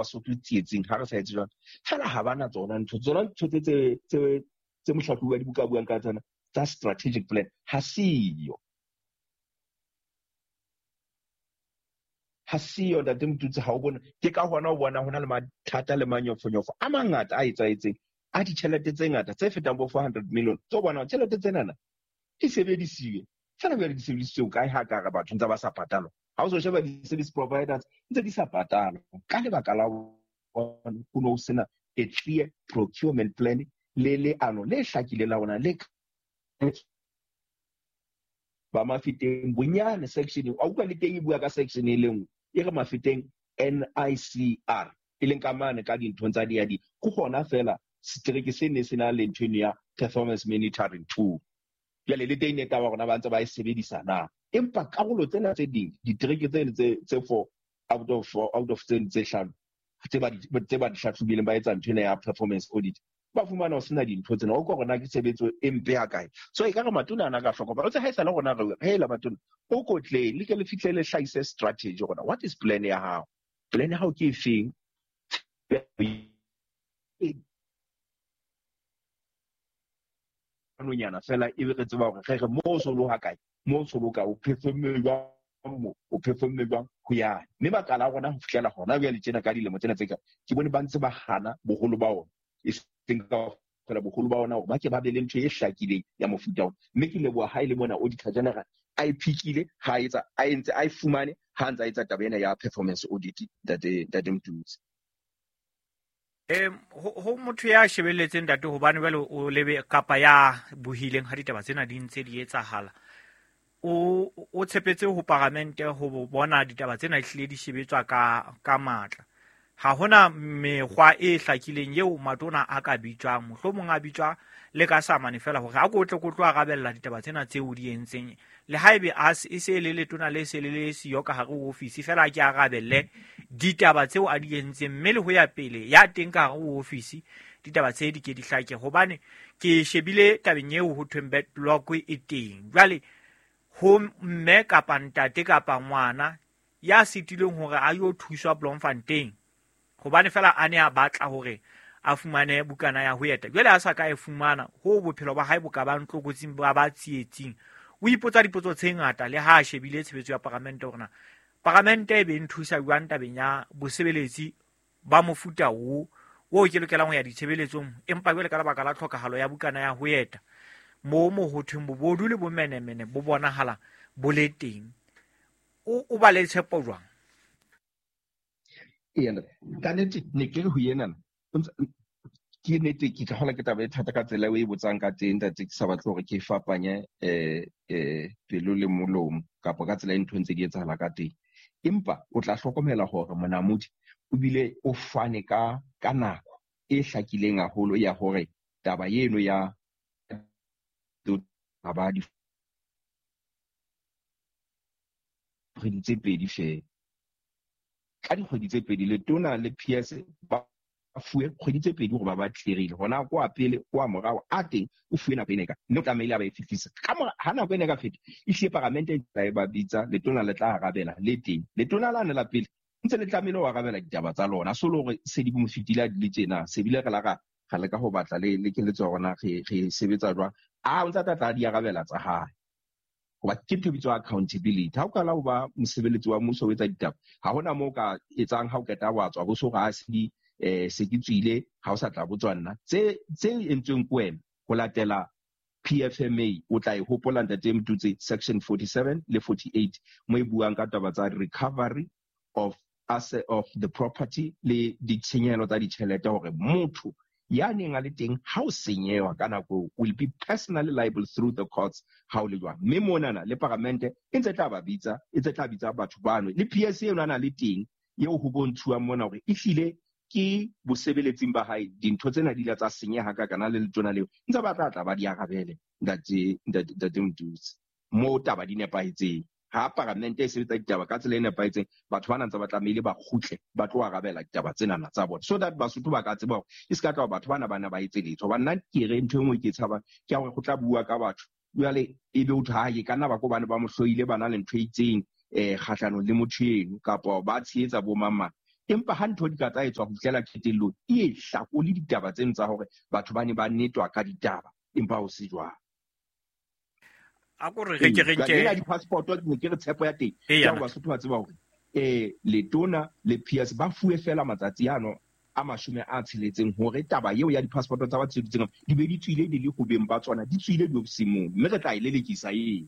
Basotho tsietsing ha re sa etse jwalo. Feela ha ba na tsona ntho tsona ntho tse tse tse tse mohlahlobi wa dibuka a buang ka tsona tsa strategic plan ha siyo. Ha siyo Ntate Motutsi ha o bone ke ka hona o bona ho na le mathata le manyofonyofo a mangata a etsahetseng a ditjhelete tse ngata tse fetang bo 400 million tso bona tjhelete tsenana di sebedisiwe fela jwale di sebedisitswe kae ha ka re batho ntse ba sa patalwa ha o so sheba di-service providers ntse di sa patalwa ka lebaka la ho no sena a clear procurement plan le leano le hlakileng la rona le ba Mafeteng bonyane section a utlwa le teng e bua ka section e le nngwe e re Mafeteng NICR e leng ka mane ka dinthong tsa DID ke hona fela setereke se ne se na le ntho eno ya performance monitoring tool. Jwale le teng ne taba rona ba ntse ba e sebedisa na, empa karolo tsena tse ding ditereke tsene tse four out of four out of tsene tse hlano tse ba tse ba di hlahlobileng ba etsa ntho ena ya performance audit ba fumana ho sena dintho tsena o ka rona ke tshebetso e mpe ha kae. So e ka re matona ana ka hlokomela o tse ha e sale rona re hela matona o kotleng le ke le fihle le hlahise strategy rona what is plan ya hao, plan ya hao ke efeng nonyana fela ebe re tseba hore re re mo so lo ha kae mo so lo ka o performe jwang mo o performe jwang ho ya mme makala a rona ho fihlela hona jwale tjena ka dilemo tsena tse ka ke bone ba ntse ba hana boholo ba ona e seng ka fela boholo ba ona hore ba ke ba be le ntho e hlakileng ya mofuta ona. Mme ke leboha ha e le mona Auditor General a e phikile ha etsa a entse a e fumane ha ntse a etsa taba ena ya performance audit ntate ntate Mtutsi. Ho motho ya shebelletseng ntate hobane jwale o lebe kapa ya buhileng ha ditaba tsena di ntse di etsahala o tshepetse ho paramente ho bona ditaba tsena ehlile di shebetswa ka matla. Ha hona mekgwa e hlakileng eo matona a ka bitswang, mohlomong a bitswa le ka samane fela hore a ko tle ko tlo arabella ditaba tsena tseo di entseng. Le haebe a e se le letona le se le le siyo ka hare ho ofisi fela a ke arabelle ditaba tseo a di entseng, mme le ho ya pele ya teng ka hare ho ofisi ditaba tse di ke di hlake. Hobane ke shebile tabeng eo ho thweng backlog e teng. Jwale ho mme kapa ntate kapa ngwana ya sitilweng hore a yo thuswa Bloemfontein hobane fela a ne a batla hore a fumane bukana ya ho eta, jwale a sa ka e fumana, ho bophelo ba hae bo ka bang tlokotsing ba ba tsietsing. O ipotsa dipotso tse ngata le ha a shebile tshebetso ya paramente hore na paramente e be nthusa jwang tabeng ya bosebeletsi ba mofuta o o ke lokelang ho ya ditshebeletsong, empa jwale ka lebaka la tlhokahalo ya bukana ya ho eta moo mo ho thweng bobodu le bomenemene bo bonahala bo le teng. O ba le tshepo jwang? Ee, ka nnete ne ke re ho yena ke nnete ke tla hola ke taba e thata ka tsela eo e botsang ka teng ntate, ke sa batle hore ke fapanye pelo le molomo kapa ka tsela e ntho ntse di etsahala ka teng. Empa o tla hlokomela hore monamodi o bile o fane ka nako e hlakileng haholo ya hore taba eno ya ba di kgwedi tse pedi feela. Ka dikgwedi tse pedi letona le PS ba fuwe kgwedi tse pedi hore ba clearile hona kwa pele kwa morao a teng o fuwe nako ena ka mme o tlamehile a ba e fihlisa ka mora ha nako ena ka feta e hlile paramente e tla ba bitsa letona le tla arabela le teng letona la ne la pele ntse le tlamehile ho arabela ditaba tsa lona so le hore se di mo fetile di le tjena se bile re la ra le ka ho batla le keletso ya rona re sebetsa jwang a o ntsa tla di arabela tsa hae. Hoba ke ntho e bitswang accountability. Ha o qala ho ba mosebeletsi wa mmuso o etsa ditaba, ha hona moo ka etsang ha o qeta wa tswa bo so re se di se ke tswile ha o sa tla botswa nna. Tse entsweng ke wena ho latela PFMA o tla e hopola ntate Mtutse section 47 le 48 mo e buang ka taba tsa recovery of asset of the property le ditshenyehelo tsa ditjhelete hore motho ya neng a le teng ha o senyewa ka nako will be personally liable through the courts ha o le jwang. Mme monana le paramente e ntse tla ba bitsa, e ntse tla bitsa batho bano le PS eno a na le teng eo ho bontshuwang mona hore ehlile ke bosebeletsing ba hae dintho tsena di ile tsa senyeha ka kana le letona leo ntse ba tla tla ba di arabele ntate Mtutsi mo taba di nepahetseng. Ha paramente e sebetsa ditaba ka tsela e nepahetseng batho ba ntse ba tlamehile ba kgutle ba tlo arabela ditaba tsena tsa bona so that Basotho ba ka tseba hore e se ka tla batho bana ba etse letho. Hobane nna ke re ntho e nngwe ke tshaba ke ya hore go tla bua ka batho jwale e be o ha ke ka nna ba ko bane ba mo hloile ba na le ntho e itseng kgahlanong le motho eno kapa ba tshehetsa bo mang mang. Empa ha ntho di ka tsa etswa ho fihlela qetellong, e hlakole ditaba tseno tsa hore batho ba ne ba netwa ka ditaba, empa ho se jwalo. A ko re re ke re nke ya di-passport, ne ke re tshepo ya teng ke hore Basotho ba tseba hore Letona le PS ba fuwe fela matsatsi ano a 60 hore taba eo ya di-passport tsa ba tsheditseng di be di tswile di le ho beng ba tsona, di tswile diofising moo, mme re tla e lelekisa eo.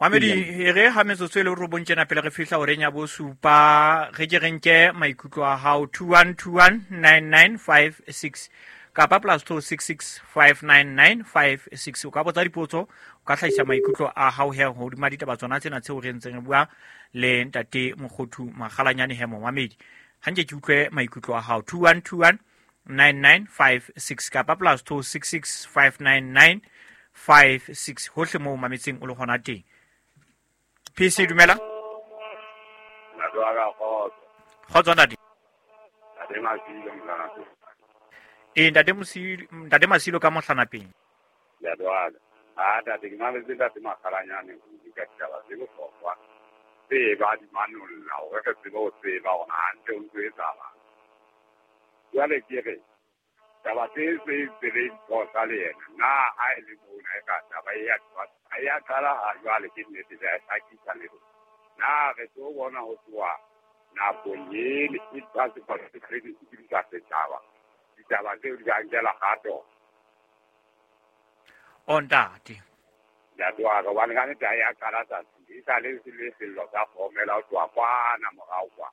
Mamedi, e re ha metsotso e le 9 tjena pele re fihla horeng ya 7, re ke re nke maikutlo a hao 21219956 kapa +266 59956. O ka botsa dipotso, o ka hlahisa maikutlo a hao he hodima ditaba tsona tsena tseo re ntseng re bua le Ntate Mokhothu Makgalanyane he momamedi. Ha nke ke utlwe maikutlo a hao 21219956 kapa +266 59956 hohle moo mametseng o le hona teng. PC dumela. Kgotso ntate. Ntate Mosilo, Ntate Masilo ka Mohlanapeng. Ya jwale. A ntate ke mametse Ntate Makgalanyane ho ka ditaba tse bohlokwa. Tse ba di manolla hore re tsebe ho tseba hore hantle ho ntso etsahalang. Jwale ke re taba tse tse re phosa le yena na ha e le mona e ka taba e ya ha ya qala ha jwale ke nnete ya hlakisa le rona. Na re tlo bona ho tloha nakong ele e passport credit di sa setjhaba. Ditaba tseo di ka nkela kgato. O ntate. Ya tloha hobane ka nnete ha ya qala tsatsi e sa le le sello sa kgomela ho tloha kwana morao kwa.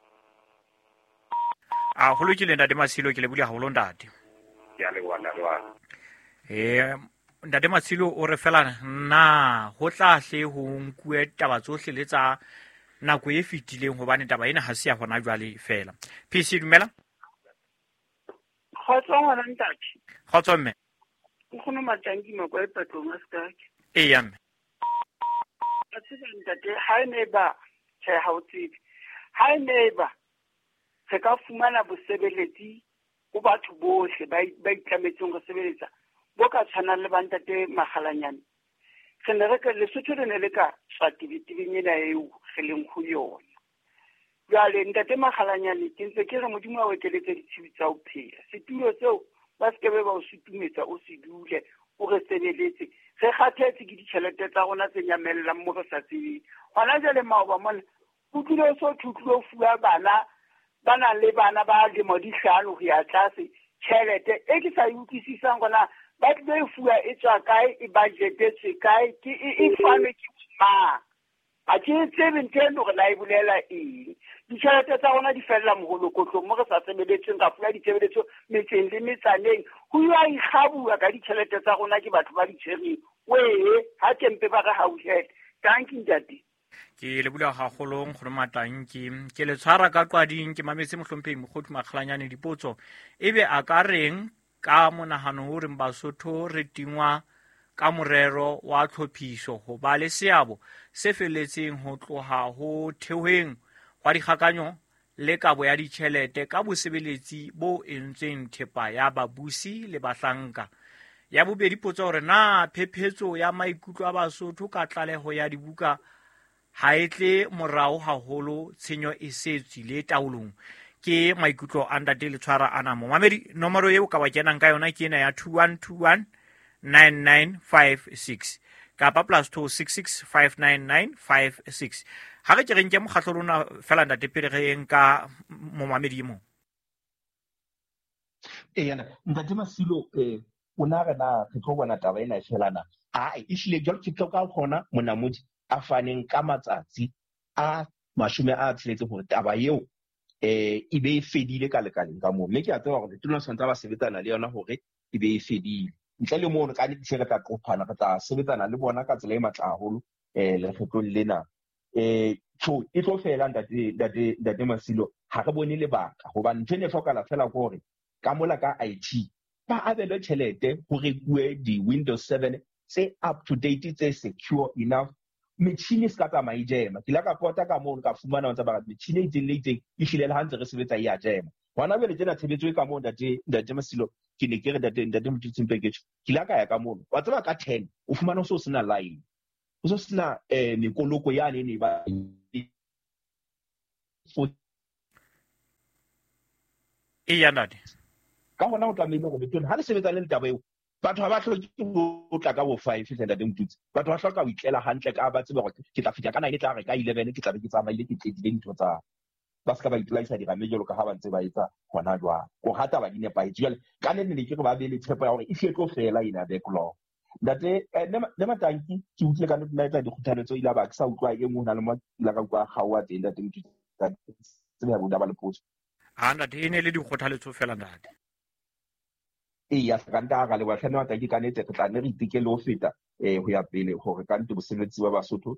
A ho lokile Ntate Masilo, ke lebohile haholo ntate. Ke a leboha ntate wa ka. Ntate Masilo o re fela na ho tla hle ho nkuwe taba tsohle le tsa nako e fetileng hobane taba ena ha se ya hona jwale fela. PC dumela. Kgotso ngwana ntate. Kgotso mme. Nkgono Matanki Makwa e patlong a sekake. Eya mme. A tseba ntate, ha e ne ba tjhe ha o tsebe. Ha e ne ba re ka fumana bosebeletsi ho batho bohle ba itlametseng ho sebeletsa bo ka tshwanang le ba Ntate Makgalanyane. Re ne re ka Lesotho le ne le ka tswa tebetebeng ena eo re leng ho yona. Jwale Ntate Makgalanyane ke ntse ke re Modimo a o ekeletse ditshiu tsa ho phela. Setulo seo ba se ke be ba o sutumetsa o se dule o re sebeletse. Re kgathetse ke ditjhelete tsa rona tse nyamellang mo re sa tsebeng. Hona jwale maoba mona o tlile o so thutlile o fuwa bana ba nang le bana ba dilemo di 5 ho ya tlase tjhelete e ke sa e utlwisisang hore ba tlile e fuwa e tswa kae, e budgetetswe kae, ke e fanwe ke mang. Ha ke tsebe ntho eno hore na e bolela eng. Ditjhelete tsa rona di fella moholokotlong mo re sa sebeletseng, ra fuwa ditshebeletso metseng le metsaneng. Ho ya ikgabuwa ka ditjhelete tsa rona ke batho ba di tshwereng. Wee, ha kempe ba re hauhele. Tanki ntate. Ke lebohile haholo Nkgono Matanki. Ke le tshwara ka qwading, ke mametse mohlomphehi Mokhothu Makgalanyane dipotso. Ebe a ka reng ka monahano o reng Basotho re tingwa ka morero wa tlhophiso ho ba le seabo se felletseng ho tloha ho theoheng hwa dikgakanyo le kabo ya ditjhelete ka bosebeletsi bo entsweng thepa ya babusi le bahlanka. Ya bobedi potso hore na phephetso ya maikutlo a Basotho ka tlaleho ya dibuka ha e tle morao haholo tshenyo e se tswile taolong. Ke maikutlo a Ntate Letshwara ana mo. Mamedi, nomoro eo ka wa kenang ka yona ke ena ya 21219956 kapa +266 59956. Ha re ke re nke mokgatlo lona fela ntate pele re nka momamedi mo. Eya, Ntate Masilo, o na re na re tlo bona taba ena e fela na? Ai, ehlile jwalo ke tlo ka hona monamodi a faneng ka matsatsi a 60 hore taba eo e be e fedile ka lekaleng ka moo. Mme ke a tseba hore letona tshwanetse ba sebetsana le yona hore e be e fedile. Ntle le moo ka nnete re tla qophana, re tla sebetsana le bona ka tsela e matla haholo lekgetlong lena. Tjho e tlo fela ntate Masilo, ha re bone lebaka hobane ntho e ne hlokahala fela ke hore ka mola ka IT ba abelwe tjhelete ho rekuwe di-Windows 7 tse up to date, tse secure enough. Metjhini e se ka tsamaya e jema. Ke ile ka pota ka moo ka fumana tsa ba metjhini e itseng le itseng e hlile le ha ntse re sebetsa e a jema. Hona jwale tjena tshebetso e ka moo ntate Masilo, ke ne ke re ntate Mothutsing Peketso, ke ile ka ya ka mono. Wa tseba ka 10 o fumana o so sena line. O so sena mekoloko yane e ne ba 4. Eya ntate. Ka hona o tlamehile hore letona ha le sebetsa le taba eo, batho ha ba hloke ho tla ka bo 5 ntate Motutsi. Batho ba hloka ho itlela hantle ka ba tsebe hore ke tla fihla ka 9, tla re ka 11 ke tla be ke tsamaile, ke qetile dintho tsa ba se ka ba ipolaisa dirame jwalo ka ha ba ntse ba etsa hona jwale. Ko rata ba di nepahetse. Jwale ka le ne ke re ba be le tshepo ya hore e hle tlo fela ena backlog. Ntate ne Matanki ke utlwile ka nna etsa dikgothaletso ile ba ke sa utlwa e nngwe hona le mo ile ka utlwa kgaoha teng ntate Motutsi. Tsebe ya boda ba le potso. Ha ntate e ne le dikgothaletso fela ntate. Eya ka nta ra leboha hle Matanki ka nnete re tla nne re iteke le ho feta ho ya pele hore ka nnete bosebetsi ba Basotho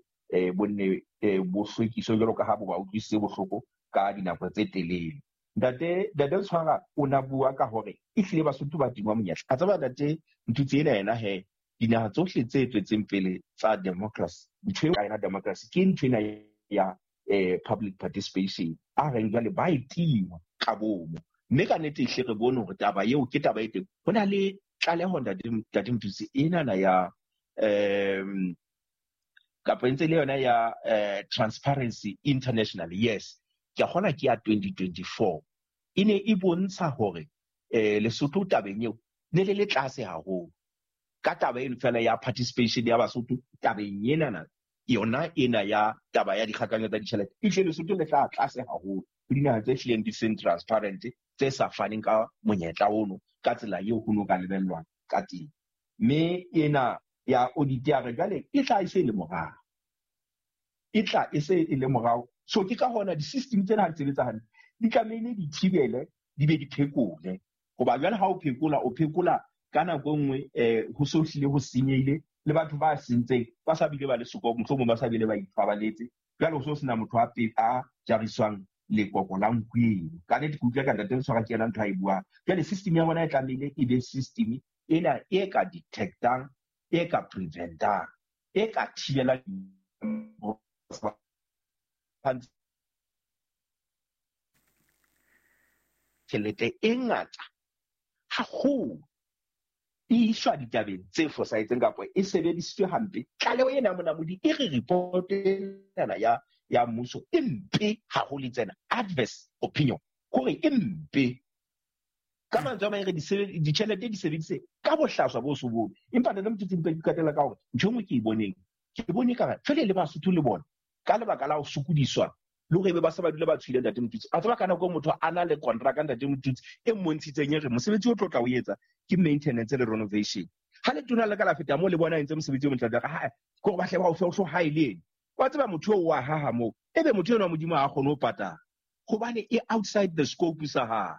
bo nne bo hlwekiswe jwalo ka ha bo ba utlwisitse bohloko ka dinako tse telele. Ntate Tshwara o na bua ka hore ehlile Basotho ba tingwa monyetla. A tseba ntate Motutsi ena yena he dinaha tsohle tse tswetseng pele tsa democracy, ntho eo ka yona democracy ke ntho ena ya public participation a reng jwale ba e tingwa ka bomo. Mme ka nnete ehle re bone hore taba eo ke taba e teng. Ho na le tlaleho ntate Motutsi enana ya kapa ntse le yona ya Transparency International, yes, ke a kgona ke ya 2024 e ne e bontsha hore Lesotho tabeng eo ne le le tlase haholo ka taba eno fela ya participation ya Basotho tabeng enana yona ena ya taba ya dikgakanyo tsa ditjhelete. Ehlile Lesotho le tla tlase haholo ho dinaha tse hlileng di seng transparent, tse sa faneng ka monyetla ono ka tsela eo ho no ka lebellwang ka teng. Mme ena ya audit ya re jwale e tla e se le morao, e tla e se e le morao. So ke ka hona di-system tsena ha di sebetsa hantle di tlamehile di thibele di be di phekole. Hoba jwale ha o phekola, o phekola ka nako e nngwe ho so hlile ho senyehile le batho ba sentseng ba sa bile ba le soko, mohlomong ba sa bile ba ipabaletse. Jwale ho so sena motho a jariswang lekoko la nku eno. Ka nnete ke utlwa ka ntate Tshwara ke yena ntho a e buang. Jwale system ya bona e tlamehile e be system ena e ka detectang, e ka preventang, e ka thibelang tjhelete e ngata haholo e iswa ditabeng tse fosahetseng kapa e sebedisitswe hampe. Tlaleho ena Monamodi e re report ena ya mmuso e mpe haholo, tsena adverse opinion hore e mpe. Ka mantswe a mang re ditjhelete di sebedise ka bohlaswa bo so bone. Empa ntate Motutsi mpe ke qetella ka hore ntho e nngwe ke e boneng, ke bone ka re jwale le Basotho le bona ka lebaka la ho sokodiswa le hore ebe ba se ba dula ba tshohile ntate Motutsi. A tseba ka nako motho a na le contract ntate Motutsi e mmontshitseng e re mosebetsi o tlo tla o etsa ke maintenance le renovation. Ha le tona le ka la feta moo le bona entse mosebetsi o motle, ha ke hore ba hle ba o fe o hlo ha e le ene. Wa tseba motho oo wa haha moo, ebe motho enwa Modimo ha a kgone ho patala hobane e outside the scope sa hae.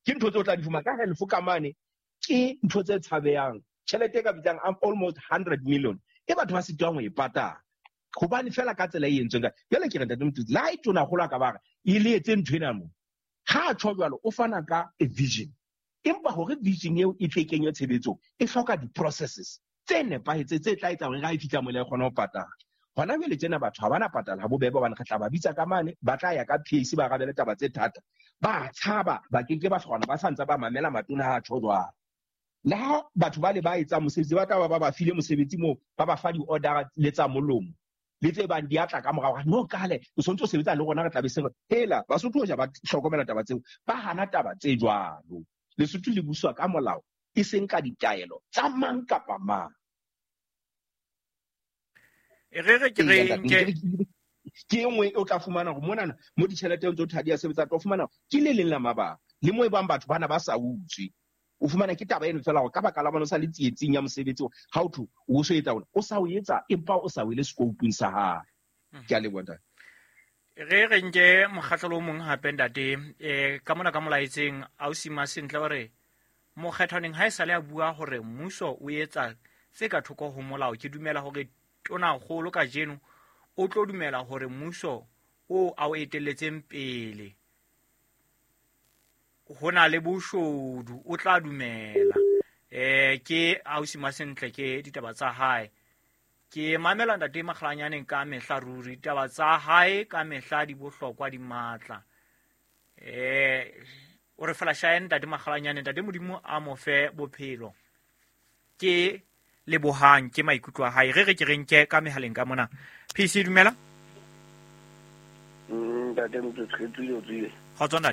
Ke ntho tse o tla di fumana ka half ka mane, ke ntho tse tshabehang. Tjhelete e ka bitsang almost 100 million e batho ba sitwang ho e patala hobane fela ka tsela e entsweng ka. Jwale ke re ntate Motutsi, le ha e tona kgolo a ka ba re e le etse ntho ena moo, ha a tjho jwalo o fana ka a vision. Empa hore vision eo e tle kenywe tshebetsong e hloka di-processes tse nepahetseng tse tla etsa hore ha e fihla mola e kgone ho patala. Hona jwale tjena batho ha bana patala ha bobebe hobane re tla ba bitsa ka mane, ba tla ya ka PAC ba arabele taba tse thata. Ba tshaba, ba keke ba kgona, ba sa ntse ba mamela matona ha a tjho jwalo. Le ha batho ba le ba etsang mosebetsi ba tla ba ba file mosebetsi moo, ba ba fa di-order le tsa molomo le tse bang di a tla ka morao. No kale o sontse o sebetsa le rona re tla be se re hela Basotho hoja ba hlokomela taba tseo, ba hana taba tse jwalo. Lesotho le buswa ka molao e seng ka ditaelo tsa mang kapa mang. E re re ke re nke ke e nngwe o tla fumana hore monana mo ditjhelete tse o thadi ya sebetsa, tlo fumana ke le leng la mabaka le mo e bang batho bana ba sa utswe. O fumana ke taba eno fela hore ka baka la bona o sa le tsietsing ya mosebetsi ha o thwe o so etsa ona, o sa o etsa empa o sa wele scope-ung sa hae. Ke a leboha ntate. Re re nke mokgahlelo o mong hape ntate, ka mona ka molaetseng ausi Masentle hore mokgethwaneng ha e sale a bua hore mmuso o etsa tse ka thoko ho molao. Ke dumela hore tonakgolo kajeno o tlo dumela hore mmuso o a o etelletseng pele ho na le boshodu, o tla dumela. Ke ausi Masentle ke ditaba tsa hae. Ke mamela ntate Makgalanyaneng ka mehla ruri, ditaba tsa hae ka mehla di bohlokwa di matla. O re fela shae ntate Makgalanyaneng, ntate Modimo a mo fe bophelo. Ke lebohang ke maikutlo a hae. Re re ke re nke ka mehaleng ka mona. PC dumela. Ntate Motsotshe, re tswile o tswile. Kgotso ntate.